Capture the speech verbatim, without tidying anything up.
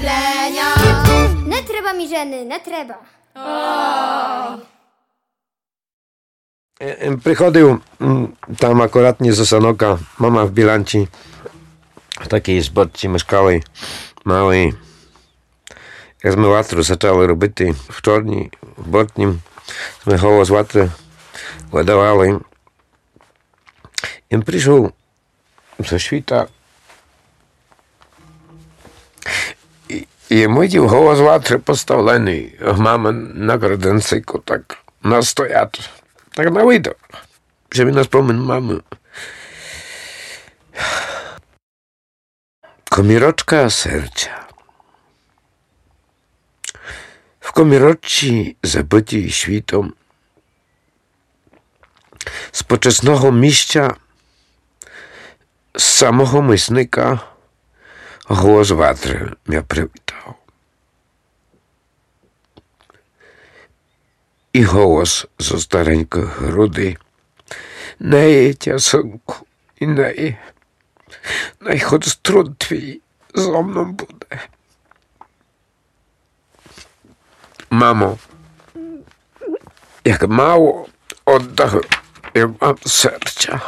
Не треба ми жены, не треба. Е, е, приходив, м, там акуратні з Осанока, мама в Біланці, в такій зборці мешкали, мали. Як сьме ватру зачали робити в Чорній, в Бортнім, сьме голос ватры выдавали. Им пришов зо світа. І, і им видів голос ватры поставленый, мама на краденцику так настоят. Так на видок, же ми на спомин мамы. Комірочка серця. В комірочці, забытій світом, з почесного місця, з самого мисника голос ватры мя привітав. І голос зо старенькых грудей: Не є тя, сынку, і не є. Най хоть труд твій зо мном буде. Мамо, як мало оддав я вам серця.